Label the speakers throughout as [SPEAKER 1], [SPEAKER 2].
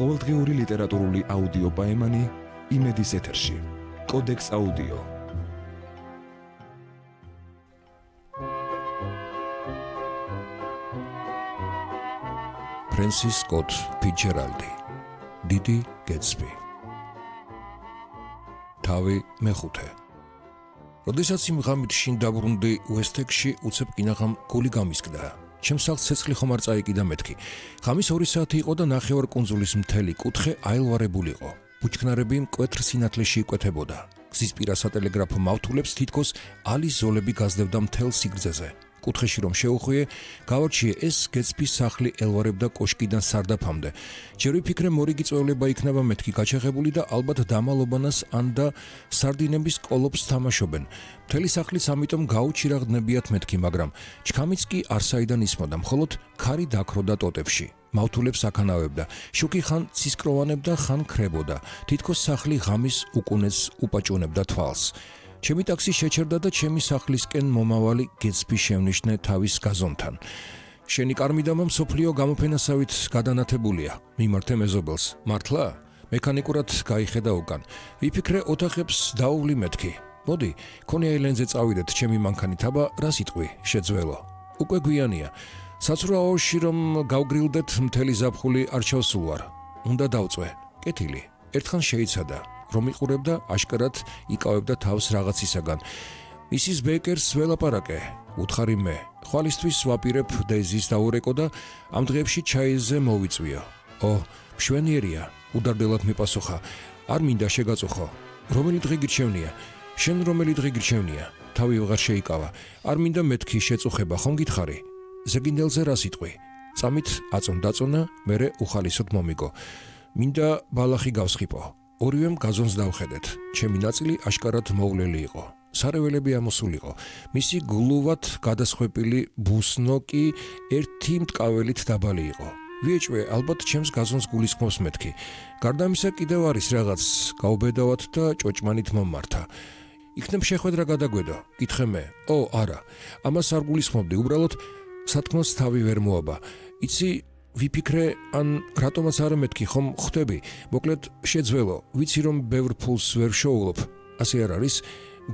[SPEAKER 1] ყოველდღიური ლიტერატურული აუდიო პოემანი იმედის ეთერში. კოდექს აუდიო. ფრენსის სკოტ ფიცჯერალდი. დიდი გეტსბი. თავი მეხუთე. როდესაც იმ ღამით შინ დაბრუნდი უესტექსში, უცებ კინაღამ გული გამისკდა. ჩემს სახლს ცეცხლი ხომ არ წაიკიდა მეთქი. ღამის 2 საათი იყო და ნახევარ კუნძულის მთელი კუთხე აილვარებული იყო. ბუჩქნარები მკვეთრ სინათლეში იკვეთებოდა. გზის პირა სატელეგრაფო მავთულებს თითქოს ალის ზოლები გაზრდებდა მთელ სიგრძეზე. კუთხეში რომ შეუხვიე, გავარჩიე ეს გეტსბის სახლი ელვარებდა კოშკიდან სარდაფამდე. ჯერ ვიფიქრე მორიგი წვეულება იქნება მეთქი გაჩაღებული და ალბათ დამალობანას ან და სარდინების კოლოფს თამაშობენ. მთელი სახლიც ამიტომ გაუჩირაღდნებიათ მეთქი, მაგრამ ჩქამიც კი არსაიდან ისმოდა, მხოლოდ ქარი დაქროდა ტოტებში. მავთულებს აკანავებდა. შუქი ხან ცისკროვანებდა, ხან ქრებოდა. თითქოს სახლი ღამის უკუნეს უპაჭუნებდა თვალს. ჩემი ტაქსი შეჩერდა და ჩემი სახლისკენ მომავალი გეტსბი შევნიშნე თავის გაზონთან. შენი კარმიდამა მსოფლიო გამოფენასავით გადანათებულია. მიმართე მეზობელს. მართლა? მექანიკურად გაიხედა უკან. ვიფიქრე ოთახებს დაუვლი მეთქი. მოდი, კონი აილენდზე წავიდეთ, ჩემი მანქანით, აბა რა სიტყვი, შეძველო. უკვე გვიანია. საცურაოში რომ გავგრილდეთ, მთელი ზაფხული არ ჩავსულვარ. უნდა დავწვე. კეთილი. ერთხან შეიცადა. რომ იყურებდა, აშკარად იკავებდა თავს რაღაცისაგან. მისის ბეკერს ველაპარაკე, უთხარი მე. ხვალისთვის ვაპირებ დეზის დაურეკო და ამ დღეებში ჩაიზე მოვიწვიო. მშვენიერია, უდარდელად მიპასუხა. არ მინდა შეგაწუხო. რომელი დღე გირჩევნია? შენ რომელი დღე გირჩევნია? თავი ვეღარ შეიკავა. არ მინდა მეთქი შეწუხება, ხომ გითხარი? ზეგინდელზე რა სიტყვი? წამით აწონ-დაწონა, მერე უხალისოდ მომიგო. მინდა ბალახი გავსხიპო. ორივემ გაზონს დავხედეთ. ჩემი ნაწილი აშკარად მოვლელი იყო. სარეველები ამოსულიყო. მისი გლუვად გადასხვეპილი ბუსნო კი ერთი მტკაველით დაბალი იყო. ვიეჭვე, ალბათ ჩემს გაზონს გულისხმობს მეთქი. გარდა ამისა კიდევ არის რაღაც, გავბედავად და ჭოჭმანით მომმართა. იქნებ შეხვედრა გადაგვედო. გითხე მე. არა. ამას არ გულისხმობდი, უბრალოდ სათქმელს თავი ვერ მოაბა. იცი, ვიფიქრე, ან რატომაც არა მეთქი, ხომ ხვდები? მოკლედ შეძველო, ვიცი რომ ბევრ ფულს ვერ შოულობ. ასე არ არის?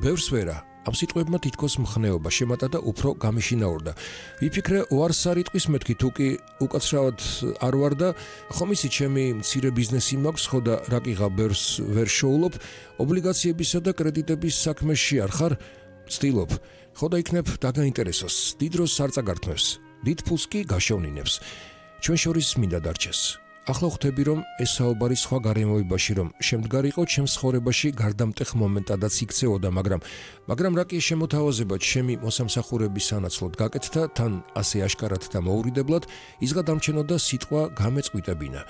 [SPEAKER 1] ბევრს ვერა. ამ სიტყვებმა თითქოს მხნეობა შემატა და უფრო გამიშინაურდა. ვიფიქრე, უარს არ იტყვის მეთქი, თუ კი უკაცრავად არ ვარ და ხომ იცი, ჩემი მცირე ბიზნესი მაქვს, ხო და რაკიღა ბევრს ვერ შოულობ, ობლიგაციებისა და კრედიტების საქმეში არ ხარ? ვცდილობ. ხო და იქნებ დაგაინტერესოს, დიდ დროს არ წაგართმევს, დიდ ფულს კი გაშოვნინებს. ჩვენ შორის მინდა დარჩეს. ახლა ხვდები, რომ ეს საუბარი სხვა გარემოებაში, რომ შემდგარიყო ჩემს ცხოვრებაში გარდამტეხ მომენტადაც იქცეოდა, მაგრამ რა კი შემოთავაზება ჩემი მოსამსახურების სანაცვლოდ გაკეთდა, თან ასე აშკარად და მოურიდებლად იზღადამჩენოდა სიტყვა გამეწყვიტებინა.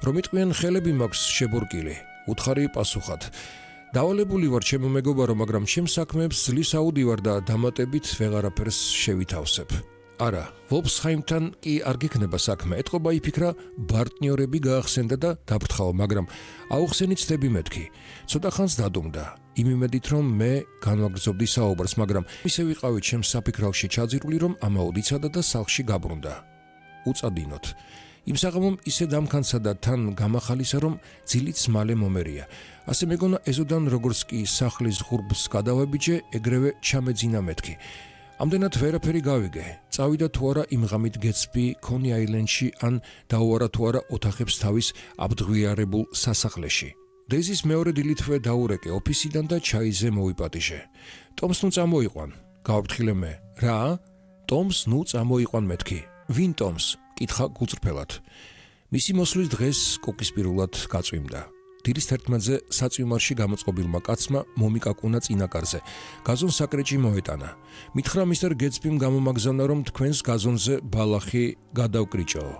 [SPEAKER 1] რომ იტყვიან ხელები მაქვს შებურკილი, უთხარი პასუხად. დავალებული ვარ ჩემო მეგობარო, მაგრამ ჩემს საქმეებს ძლივს აუდივარ და დამატებით ვეღარაფერს შევითავსებ. არა, ვობსჰაიმთან კი არ გექნება საქმე. ეთყობა იფიქრა, პარტნიორები გაახსენდა და დაბრთხაო, მაგრამ აუხსენი ცდები მეთქი. ცოტა ხანს დადუმდა. იმ იმედით, რომ მე განვაგრძობდი საუბარს, მაგრამ ისე ვიყავი ჩემს საფიქრალში ჩაძირული, რომ ამაოდიცადა და სახლში გაბრუნდა. უწადინოთ. იმ საღამომ ისე დამქანცა და თან გამახალისა, რომ ძილიც მალე მომერია. ასე მეგონა ეზოდან როგორც კი სახლის ღურბს გადავაბიჯე, ეგრევე ჩამეძინა მეთქი. ამდენად ვერაფერი გავიგე. წავიდა თუ არა იმ ღამით გეტსბი კონი აილენდში, ან დაუარა თუ არა ოთახებს თავის აბდღვიარებულ სასახლეში. დეზის მეორე დილითვე დაურეკე ოფისიდან და ჩაიზე მოვიპატიჟე. ტომს ნუ წამოიყვან. გავაფრთხილე მე. რა? ტომს ნუ წამოიყვან მეთქი. ვინ ტომს? კითხა გულწრფელად. მისი მოსვლის დღეს კოკისპირულად გაწვიმდა. დილის 11-ზე საწვიმარში გამოწყობილმა კაცმა მომიკაკუნა წინაკარზე. გაზონს საკრეჭი მოეტანა. მითხრა მისტერ გეტსბიმ გამომაგზავნა, რომ თქვენს გაზონზე ბალახი გადავკრიჭოო.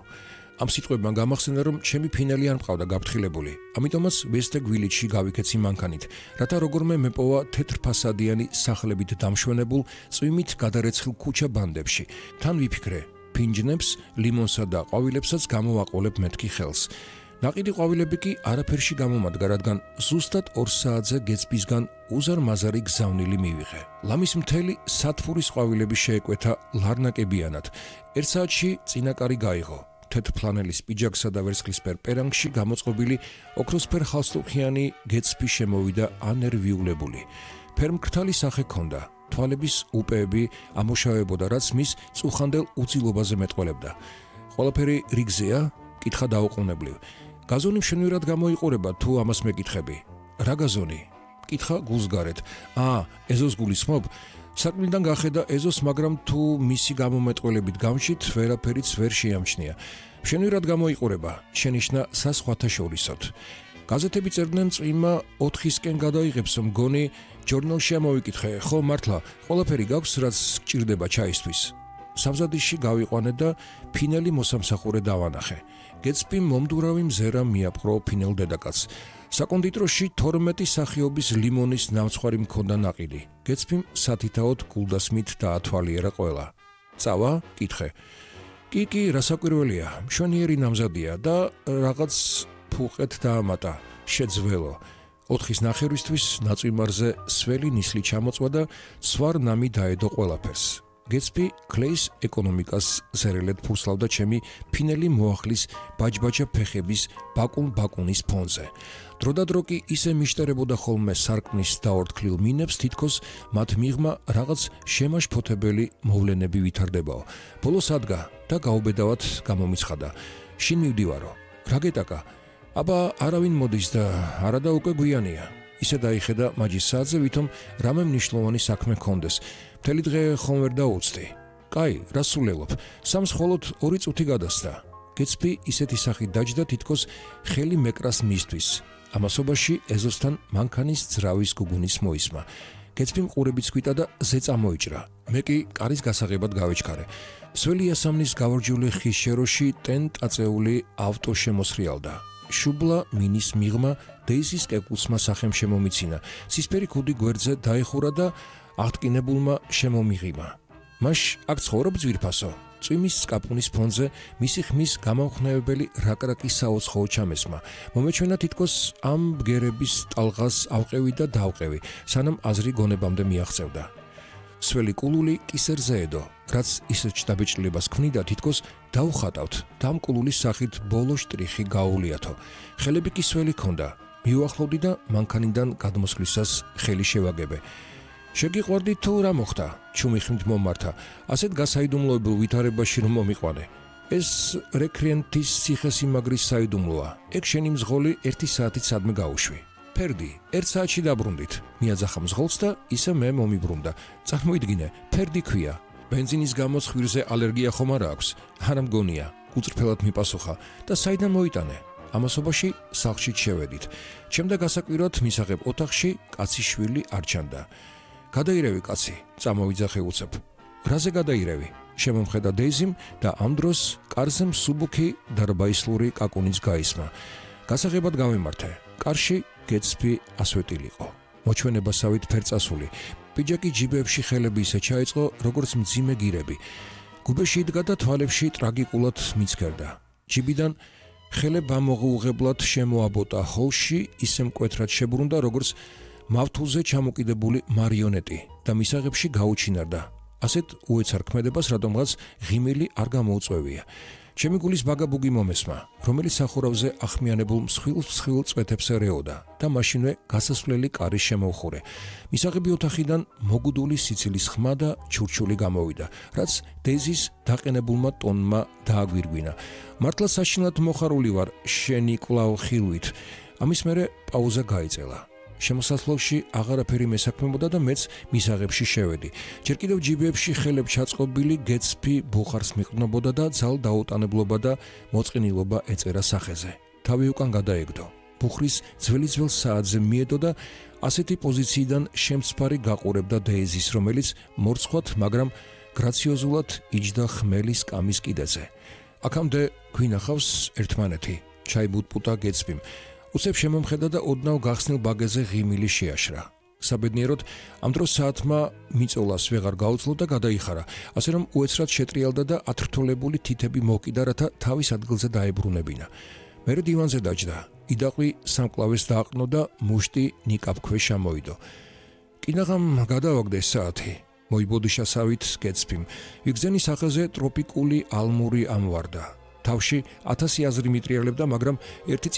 [SPEAKER 1] ამ სიტყვებმა გამახსენა, რომ ჩემი ფინელი არ მყავდა გაფრთხილებული. ამიტომაც ვესტეგ ვილიჯში გავიქეცი მანქანით, რათა როგორმე მეპოვა თეთრფასადიანი სახლებით დამშვენებულ წვიმით გადარეცხილ ქუჩა ბანდებში. თან ვიფიქრე, ფინჯნებს, ლიმონსა და ყვავილებსაც გამოვაყოლებ მეთქი ხელს. ნაყიდი ყვავილები კი არაფერში გამომადგა, რადგან ზუსტად 2 საათზე გეტსბისგან უზარმაზარი გზავნილი მივიღე. ლამის მთელი სათფურის ყვავილები შეეკვეთა ლარნაკებიანად. 1 საათში წინაკარი გაიღო. თეთრ ფლანელის პიჯაკსა და ვერცხლისფერ პერანგში გამოწყობილი ოქროსფერ ხალხსტუხიანი გეცპი შემოვიდა ანერვიულებული. ფერმკრთალი სახე ჰქონდა, თვალების უპეები ამოშავებოდა, რაც მის წუხანდელ უცილობაზე მეტყველებდა. ყველაფერი რიგზეა, კითხა დაუყოვნებლივ. გაზონი მშვენივრად გამოიყურება, თუ ამას მეკითხები. რა გაზონი? კითხა გულსგარეთ. ეზოს გულისხმობ? საქმიდან გახედა ეზოს, მაგრამ თუ მისი გამომეტყველებით გამჩით, ვერაფერიც ვერ შეამჩნია. მშვენივრად გამოიყურება, შენიშნა საზღვათა შორისოთ. გაზეთები წერდნენ წვიმა 4-ისკენ გადაიღებს, მგონი ჟურნალში ამოვიკითხე, ხო მართლა, ყველაფერი გაქვს, რაც გჭირდება ჩაისთვის. სამზადისში გავიყვანე და ფინელი მოსამსახურე დავანახე. გეცპიმ მომდურავი მზერა მიაპყრო ფინელ დედაკაცს. საკონდიტროში 12 სახეობის ლიმონის ნამცხვარი მქონდა ნაყიდი. გეცპიმ სათითაოდ გულდასმით დაათვალიერა ყველა. წავა? კითხე. კი, რასაკვირველია, მშვენიერი ნამზადია და რაღაც ფუყეთ დაამატა, შეძველო. 4-ის ნახევრისთვის ნაწვიმარზე სველი ნისლი ჩამოწვა და სვარ ნამი დაედო ყველაფერს. გეცპი კლეის ეკონომიკას ზერელედ ფურსლავდა ჩემი ფინელი მოახლის ბაჯბაჯა ფეხების ბაკუნის ფონზე. დროდადრო კი ისე მიშტერებოდა ხოლმე სარკმლის დაორთქლილ მინებს, თითქოს მათ მიღმა რაღაც შემაშფოთებელი მოვლენები ვითარდებაო. ბოლოს ადგა და გაუბედავად გამომიცხადა. შინ მივდივარო. რა გეტაკა? აბა არავინ მოდის და არადა უკვე გვიანია. ისე დაიხედა მაჯის საათზე, ვითომ რამე მნიშვნელოვანი საქმე ჰქონდეს. მთელი დღე ხომ ვერ დაუცდი. კაი, რა სულელობ? სამს მხოლოდ 2 წუთი გადასდა. გეცპი ისეთი სახით დაჯდა, თითქოს ხელი მეკრას მისთვის. ამასობაში ეზოსთან მანქანის ძრავის გუგუნის მოისმა. გეცპიმ ყურებიც ქვიტა და ზე წამოიჭრა. მე კი კარის გასაღებად გავეჩქარე. სველი ასამნის გავარჯული ხის შეროში ტენ-ტაწეული ავტო შემოსრიალდა. შუბლა მინის მიღმა დეიზის კეკულსმა სახემ შემომიცინა. ცისფერი ქუდი გვერდზე დაეხურა და აღტკინებულმა შემომიღიმა. მაშ აქ ცხოვრობ ძვირფასო. წვიმის სკაპუნის ფონზე მისი ხმის გამამხნევებელი რაკრაკი საოცხოო ჩამესმა. მომეჩვენა თითქოს ამ ბგერების ტალღას ავყევი და დავყევი, სანამ აზრი გონებამდე მიაღწევდა. სველი კულული კისერზე ედო, რაც ისეთ შთაბეჭდილებას ქმნიდა, თითქოს დაუხატავთ და ამ კულულის სახით ბოლო შტრიხი გაუვლიათო. ხელები კი სველი ჰქონდა. მივახლოვდი და მანქანიდან გადმოსვლისას ხელი შევაგებე. შეგიყვარდი თუ რა მოხდა? ჩუმი ხმით მომართა. ასეთ გასაიდუმლოებულ ვითარებაში რომ მომიყვანე. ეს რეკრიენტის ციხესიმაგრის საიდუმლოა. ეგ შენი მზღოლი 1 საათით სადმე გაუშვი. ფერდი, 1 საათში დაბრუნდით. მიაძახა მზღოლს და ისე მე მომიბრუნდა. წარმოიდგინე, ფერდი ქვია. ბენზინის გამო ხვირზე ალერგია ხომ არა აქვს? არა მგონია, უწრფელად მიპასუხა და საიდან მოიტანე? ამასობაში სახლში შევედით. ჩემდა გასაკვირად მისაღებ ოთახში კაცის შვილი არ ჩანდა. გადაირევი კაცი, წამოვიძახე უცებ. რაზე გადაირევი? შემომხედა დეიზიმ და ამ დროს კარზე მსუბუქი დარბაისლური კაკუნის გაისმა. გასაღებად გავიმართე. კარში გეცპი ასვეტილიყო. მოჩვენებასავით ფერწასული. პიჯაკი ჯიბებში ხელები ისე ჩაიწყო, როგორც მძიმე გირები. გუბეში იდგა და თვალებში ტრაგიკულად მიცქერდა. ჯიბიდან ხელებ ამოღუღებლად შემოაბოტა ჰოლში, ისე მკვეთრად შებრუნდა, როგორც მავთულზე ჩამოკიდებული მარიონეტი და მისაღებში გაუჩინარდა. ასეთ უეცარ ქმედებას რადგანაც ღიმილი არ გამოუწვევია. ჩემი გულის ბაგაბუგი მომესმა, რომელიც სახურავზე ახმიანებულ მსხვილ წვეთებს ერეოდა და მაშინვე გასასვლელი კარი შემოვხურე. მისაღები ოთახიდან მოგუდული სიცილის ხმა და ჩურჩული გამოვიდა, რაც დეიზის დაყენებულმა ტონმა დააგვირგვინა. მართლა საშინლად მოხარული ვარ შენი კვლავ ხილვით. ამის მერე პაუზა გაიწელა. შემოსასვლელში აღარაფერი მესაქმებოდა და მეც მისაღებში შევედი. ჯერ კიდევ ჯიბებში ხელებ ჩაწყობილი გეცპი ბუხარს მიყრნობოდა და ძალ დაუტანებლობა და მოწყინილობა ეწერა სახეზე. თავი უკან გადაეგდო. ბუხრის ძველ საათზე მიედო და ასეთი პოზიციიდან შემცფარი გაყურებდა დეიზის, რომელიც მორცხვად, მაგრამ გრაციოზულად იჯდა ხმელის კამის კიდეზე. აქამდე გვინახავს ერთმანეთი, ჩაიბუტპუტა გეცპიმ. უცებ შემომხედა და ოდნავ გახსნილ ბაგეზე ღიმილი შეაშრა. საბედნიეროდ ამ დროს საათმა მიწოლას ვეღარ გაუძლო და გადაიხარა, ასე რომ უეცრად შეტრიალდა და ათრთოლებული თითები მოკიდა, რათა თავის ადგილზე დაებრუნებინა. მერე დივანზე დაჯდა, იდაყვი სამკლავეს დააყნო და მუშტი ნიკაპქვეშ ამოიდო. კინაღამ გადავაგდეს საათი, მოიბოდიშასავით გეცპიმ. ვიგზენი სახეზე ტროპიკული ალმური ამვარდა. თავში 1000 აზრი მიტრიალებდა, მაგრამ ერთი